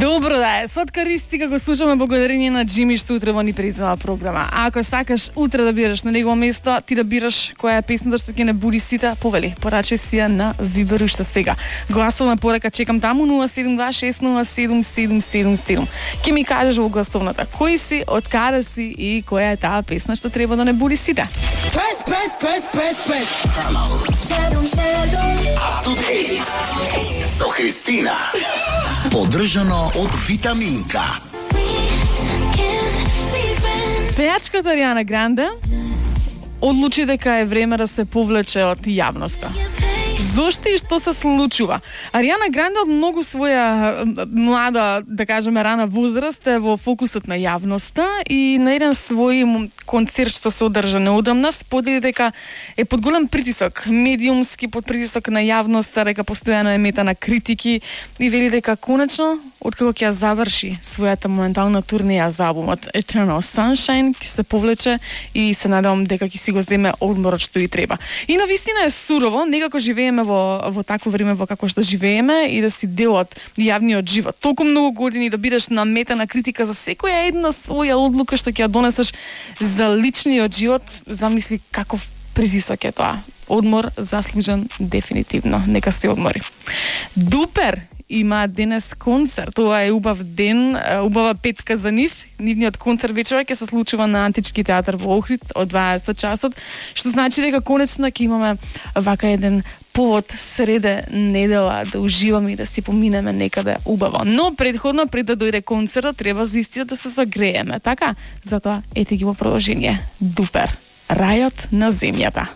Добро да е, соткаристика го слушаме благодарение на Джими што утре ни призвала програма. А ако сакаш утре да бираш на негово место, ти да бираш која е песната што ќе не буди сите, повели, порачај си ја на Вибер уште сега. Гласовна порака чекам таму 072607777. Ќе ми кажеш во гласовната кој си, од каде си и која е таа песна што треба да не буди сите. Со Христина. Поддржано од Витаминка. Пејачката Ариана Гранде одлучи дека е време да се повлече од јавноста. Зошто и што се случува? Ариана Гранде од многу своја млада, да кажеме, рана возраст е во фокусот на јавноста и на еден свој концерт што се одржа неодамна сподели дека е под голем притисок, медиумски под притисок на јавноста, дека постојано е мета на критики и вели дека конечно, откако ќе ја заврши својата моментална турнеја за албумот Eternal Sunshine, ќе се повлече и се надевам дека ќе си го земе одморот што и треба. И навистина е сурово, некако живееме во такво време во како што живееме и да си дел од јавниот живот. Толку многу години да бидеш на мета на критика за секоја една своја одлука што ќе ја донесеш за личниот живот, замисли каков притисок е тоа. Одмор заслужен дефинитивно. Нека се одмори. Дупер има денес концерт. Ова е убав ден, убава петка за нив. Нивниот концерт вечера ќе се случува на Антички театар во Охрид од 20 часот, што значи дека конечно ќе имаме вака еден повод среде недела да уживаме и да си поминеме некаде убаво. Но предходно, пред да дојде концертот, треба заистина да се загрееме, така? Затоа ете ги во продолжение. Дупер. Рајот на земјата.